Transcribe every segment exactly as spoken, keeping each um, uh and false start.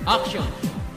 Action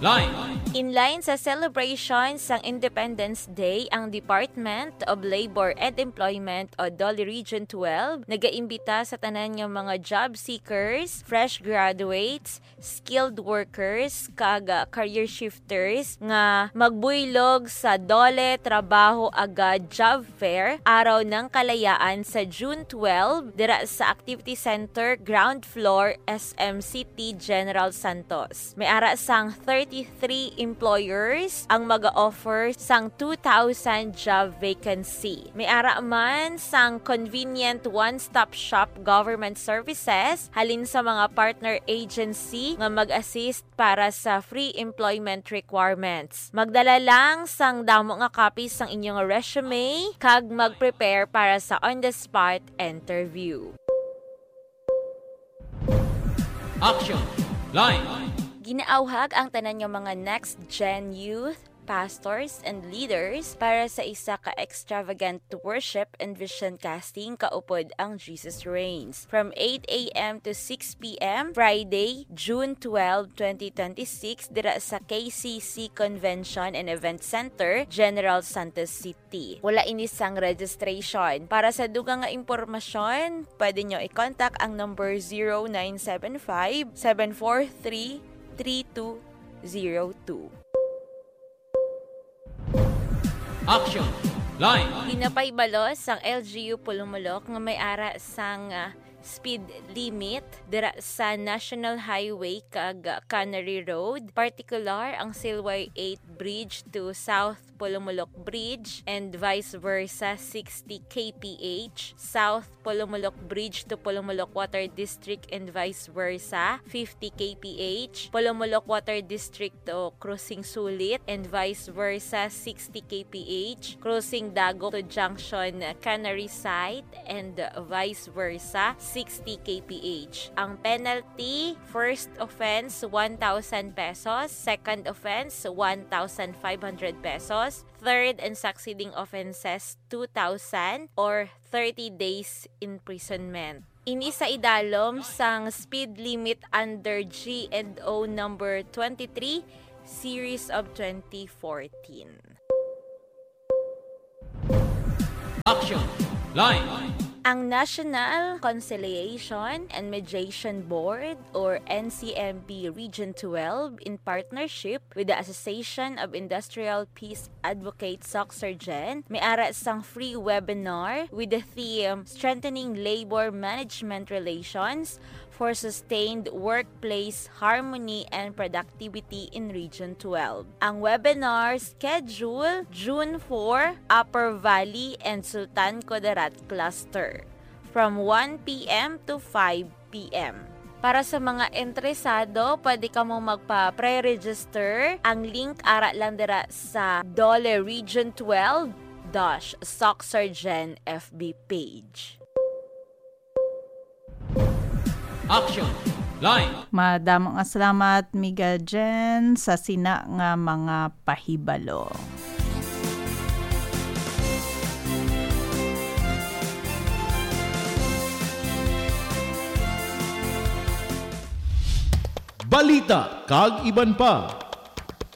Line. In line sa celebration sang Independence Day, ang Department of Labor and Employment o DOLE Region twelve nagaimbita sa tanan nga mga job seekers, fresh graduates, skilled workers, kag, ah, career shifters nga magbuylog sa DOLE Trabaho Agad Job Fair, Araw ng Kalayaan sa June twelve dira sa Activity Center, ground floor, S M City, General Santos. May ara sang thirty-three employers ang mag-offer sang two thousand job vacancy. May ara man sang convenient one-stop shop government services halin sa mga partner agency nga mag-assist para sa free employment requirements. Magdala lang sang damo nga copy sang inyong resume kag mag-prepare para sa on-the-spot interview. Action Line. Ginaawhag ang tanan nga mga next gen youth, pastors, and leaders para sa isa ka extravagant worship and vision casting kaupod ang Jesus Reigns, from eight a m to six p m, Friday, June twelve, twenty twenty-six, dira sa K C C Convention and Event Center, General Santos City. T. Wala ini sang registration. Para sa dugang nga impormasyon, pwede nyo i-contact ang number zero nine seven five, seven four three, three two zero two. Action Line. Ginapahibalo sang L G U Polomolok nga may ara sang, ah, speed limit dira sa National Highway kag Cannery Road, partikular ang Silway eight Bridge to South Polomolok Bridge and vice versa, sixty K P H, South Polomolok Bridge to Polomolok Water District and vice versa, fifty K P H, Polomolok Water District to Crossing Sulit and vice versa, sixty K P H, Crossing Dago to Junction Cannery Site and vice versa, sixty K P H. Ang penalty, first offense, one thousand pesos, second offense, one thousand five hundred pesos, third and succeeding offenses, two thousand or thirty days imprisonment. Ini sa idalom sang speed limit under G and O number twenty-three, series of twenty fourteen. Action Line. Ang National Conciliation and Mediation Board, or N C M B Region twelve, in partnership with the Association of Industrial Peace Advocates, SOCSARGEN, may ara sang free webinar with the theme Strengthening Labor Management Relations for Sustained Workplace Harmony and Productivity in Region twelve. Ang webinar schedule, June four, Upper Valley and Sultan Kudarat Cluster, from one p m to five p m. Para sa mga interesado, pwede kamo magpa-pre-register. Ang link ara lang dira sa DOLE Region twelve dash SOCSARGEN F B page. Action Line. Madamo nga salamat, Miga Jen, sa sina nga mga pahibalo. Balita kag iban pa.